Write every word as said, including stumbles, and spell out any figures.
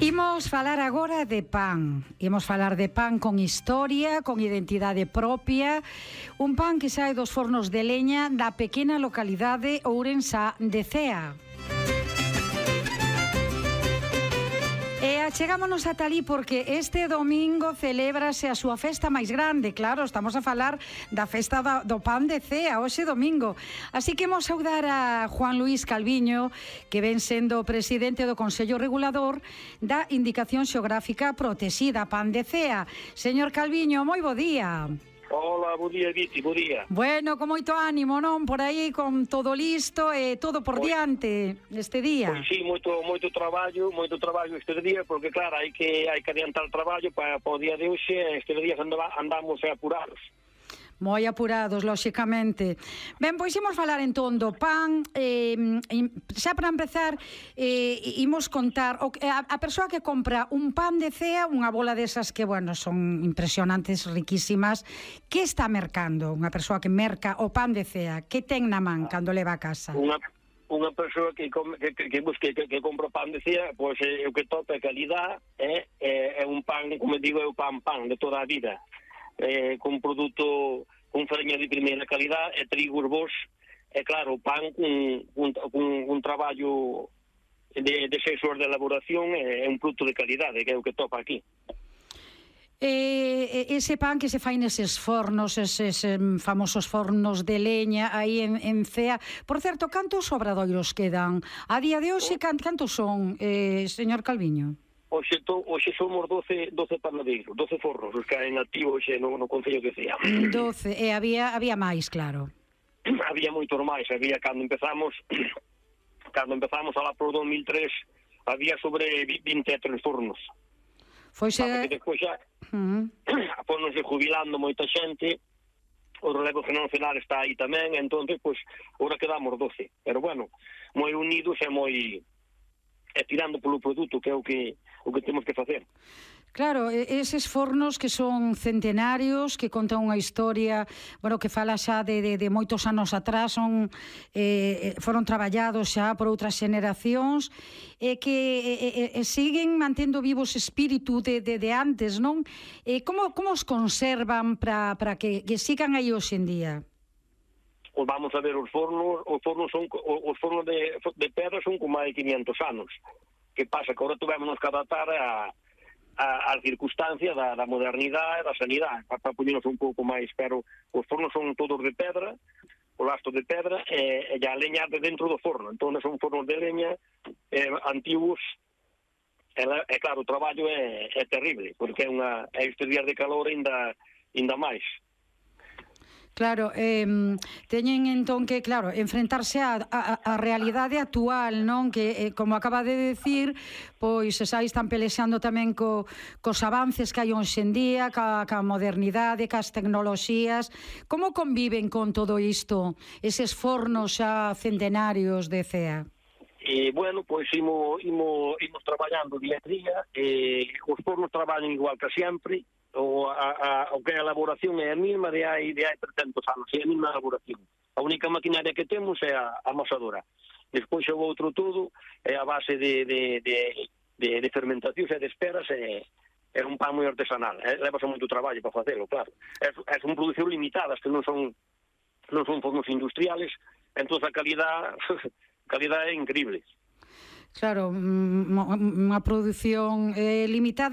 Imos falar agora de pan. Imos falar de pan con historia, con identidade propia. Un pan que sae dos fornos de leña da pequena localidade ourensá de Cea. E achegámonos ata ali porque este domingo celébrase a súa festa máis grande. Claro, estamos a falar da festa do pan de Cea, hoxe domingo. Así que imos saudar a Juan Luís Calviño, que ven sendo presidente do Consello Regulador da Indicación Xeográfica Protexida, pan de Cea. Señor Calviño, moi bo día. Hola, bo día, Viti, bo día. Bueno, con moito ánimo, non? Por aí, con todo listo e todo por Pois, diante este día. Pois sí, moito moito traballo, moito traballo este día, porque claro, hai que hai que adiantar o traballo para, para o día de hoxe, este día andamos apurados. Moi apurados, lóxicamente. Ben, pois imos falar entón do pan. eh, Xa para empezar, eh, imos contar o, a, a persoa que compra un pan de Cea, unha bola desas que, bueno, son impresionantes, riquísimas, que está mercando unha persoa que merca o pan de Cea? Que ten na man cando leva a casa? Unha unha persoa que come, que, que, que busque que, que compra pan de Cea, pois é o que topa a calidad, é, é, é un pan, como digo, é o pan pan de toda a vida. Eh, con produto con farinha de primeira calidad e trigos bons, e claro, o pan con, con, con un traballo de, de seis horas de elaboración é, é un produto de calidade, que é o que topa aquí. E ese pan que se fai neses fornos, eses famosos fornos de leña aí en, en Cea. Por certo, cantos obradoiros quedan? A día de hoxe, cantos son, eh, señor Calviño? Oxe, to, oxe somos doce, doce panadeiros, doce fornos, os que hai en activo oxe no, no Concello de Cea. doce, e había, había máis, claro. Había moitos máis, había cando empezamos, cando empezamos a lá por dos mil tres, había sobre vinte e tres fornos. Foise... Porque despois xa, uh-huh. Pónose jubilando moita xente, o relevo generacional está aí tamén, entón, pois, ora quedamos doce. Pero, bueno, moi unidos e moi... e tirando polo produto, que é o que o que temos que facer. Claro, eses fornos que son centenarios, que contan unha historia, bueno, que fala xa de, de, de moitos anos atrás, son, eh, foron traballados xa por outras xeneracións, e que e, e, siguen mantendo vivo ese espírito de, de, de antes, non? E como, como os conservan para que, que sigan aí hoxe en día? Pues vamos a ver, os fornos, os fornos son os fornos de, de pedra son con máis de quinientos anos. Que pasa? Que agora tuvémonos que adaptar a, a, a circunstancia da, da modernidade e da sanidade, para, para poñernos un pouco máis, pero os fornos son todos de pedra, o lasto de pedra, e, e a leña de dentro do forno. Entón son fornos de leña eh, antigos, e, e claro, o traballo é, é terrible, porque é unha é estes días de calor ainda, ainda máis. Claro, eh, teñen entón que, claro, enfrentarse a, a, a realidade actual, non? Que, eh, como acaba de decir, pois aí están pelexando tamén co, cos avances que hai hoxe en día, ca, ca modernidade, cas tecnoloxías. Como conviven con todo isto, eses fornos xa centenarios de Cea? Eh, bueno, pois imo, imo, imos traballando día a día, eh, os fornos traballan igual que sempre, o, a, a, o que a elaboración é a mesma de hai, de hai trescentos anos, é a mesma elaboración. A única maquinaria que temos é a amasadora. Despois o outro todo é a base de, de, de, de, de fermentacións e de esperas, é, é un pan moi artesanal, é, levase moito traballo para facelo, claro. É, é son producións limitadas, que non son non son fornos industriales, entón a calidad, a calidad é increíble. Claro, unha produción eh, limitada.